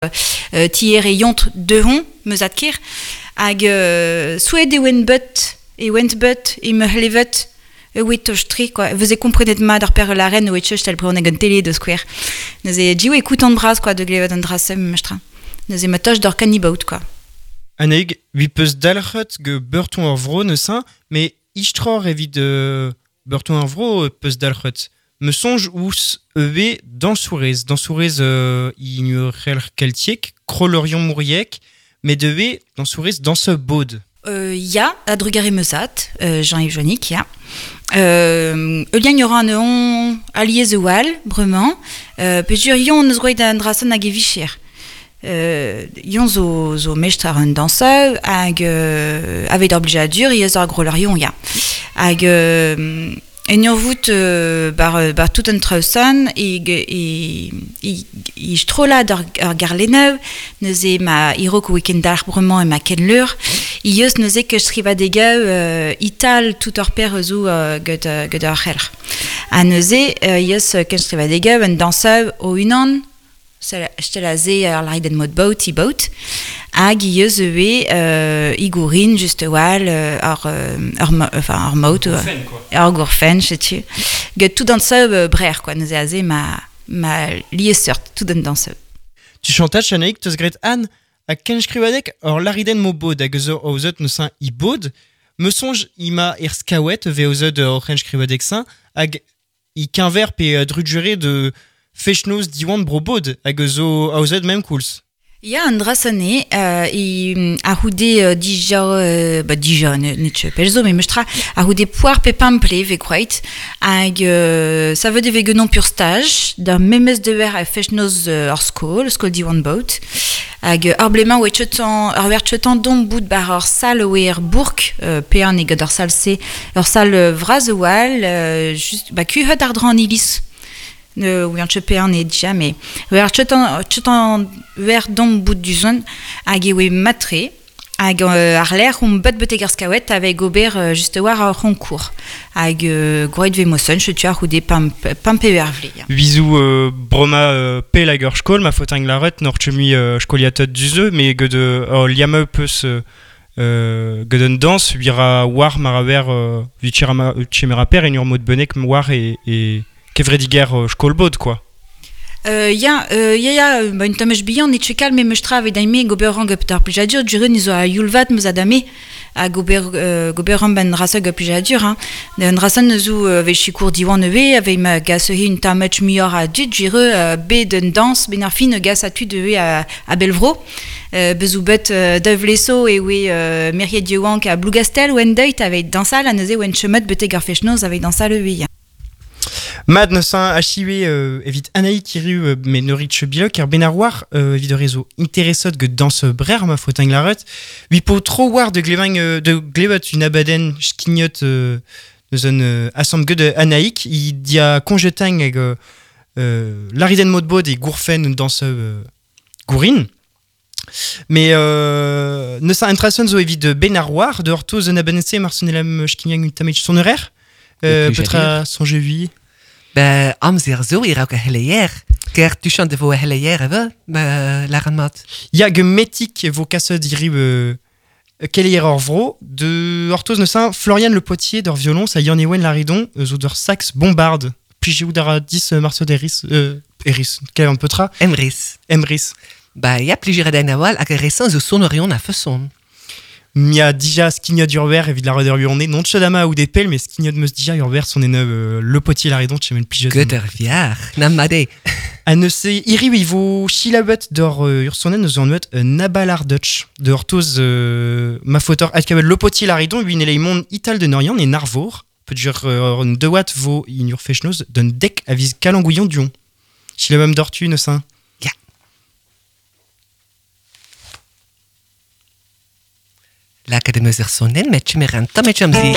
Tier e yontr dehon, meus adker, hag souet e oen bet, e oent bet, e me c'hlevet, e oe toch-tre, quoi. Veze komprenet mat ar per laren oe tcheust al brezhoneg an tele de skouer. Neuze div e koutant bras, quoi, de glevet an drasem, mestra. Neuze ma toch d'or kanibaout, quoi. Annaig, vi peus dalc'het ge beurton ur vro neusin, me istror evit beurton ur vro peus dalc'het. Me sonj ous eve dansourez, dansourez in ur keltiek, krolorion mouriek, met eve dansourez danse bod. Ya, a drugare meusat, Jean-Yves Joannic, ya. Eulien yor an eon aliez e oal, bremañ, peogwir yon eus roet an drasen hag e vicher. Yon zo mestr ar un danseur hag aveit ar blijadur eo ar grolerion, ya. Hag en ur vout bar tout an traoù-san e strollad ar garlennoù, neuze ma irok oe ken dalc'h bremañ e ma ken leur, i eus neuze ket skrivadegaù ital tout ar per zo get ar c'helc'h. Ha neuze i eus ken skrivadegaù un danseur o unan, stel a ze ar laridenn mod baot i baot, hag i eus eo igourin just a-walc'h ar maout. Ar gourfenn, setu. Get tout an danseur brer, quoi, neuze aze ma liesseurt, tout an danseur. Tu chantach, Anaïk, teus graet Anne, ha ken skrivadeg ur laridenn mo bod hag eus aozet neusin i bod, me sonj ima er skaouet ve aozet ur ren skrivadeg sain, hag i keñver pe drudjure de fechnoz diwan bro bod hag eus zo aozet mem koulz. Ya, an dra sane, e a c'houde dija, ba dija, ne tche pel zo, mais meustra, a c'houde poar pe pample ve kroait, hag sa veut ve genon pur stage, da memes dever a fechnoz ar skol, skol diwan baot, hag ar blemañ oe tchetan, ar wer tchetan don bout bar ar sal oe er bourk, pe an e gant ar sal se, ur sal vraz oal, just, ba kuhet ar dran ilis. Ne ouian tche pe an e dija, mais wer tchetan wer don bout du zon, hag e oe matre, hag ar lec'h on bet betek ar skaouet avec gober just war ar c'honkour. Hag groet ve moson, chetu ar c'houde pampe ur vle. Ya. Bizou broma pel hag ur skol, ma faotang laret, nor tchemi skoliatot duze, mais gant ur liame peus gant un dans, vira war mar a wer vi tchemera per en ur mod benek war e kevrediger skolbod, quoi. Ya, ba un tammech bihan, ne tche kalme meustra aveit aime gober ran gant ar plijadur, duren zo a youlvat meus adame a gober ran ban rasa gant plijadur, hein. Un rasan zo aveit sikour diwan eve, aveit ma gasehe un tammech muioc'h a dud, jure bet un dans, ben ar fin gas a tud eve a belvro. Bezou bet dav leso e oe meriet diwank a Blougastel oen deuit aveit dansal, a neuze oen chemet betek ar fechnoz aveit dansal eve. Mad neusin achiwe evit Anaïk iriu me neurit bilok er benar war evit ur rezo interesot ge dans brer ma faotang laret wi po tro war de glevang de glevet un abaden skignot neus un assemble ge de Anaïk i dia konjetang hag lariden mod bod e gourfen un danse gourin. Mais neusin entrason zo evit benar war de ortoz un abadense marsonelam skignang un tammech sonerer petra sonje vi. Ba amzer zo ir ook a heleier. Ker tu chante vo a heleier eve, ba laran mat. Ya ge metik vo kaset iriv keleier ur vro de ortoz neusin Florian Le Potier d'ur violon sa Yann Ewen Laridon zo d'ur sax bombarde. Plijeout ar dis Marceau d'Eris Eris, kel an petra? Emrys. Emrys. Ba ya plijer a den awal hag a resan zo sonorion a feson. Mia dija skignot ur evit la reder uorne, non tchadama ou des pel, mais skignot meus dija ur son en Le Potier Laridon tchemen plijet. Get ar viar, na made. A neuze iriv e vo chilabet d'ur ur sonen eus an Nabalar Dutch, de ortoz ma fotor adkabel Le Potier Laridon ui ne mont ital de Norian e Narvor, pedur un dewat vo in ur fechnoz d'un dek a viz kalangouillon duon. Chilabem d'ortu neusin. Ya. Lakaet em eus ar sonen, met chemer an tamm amzer.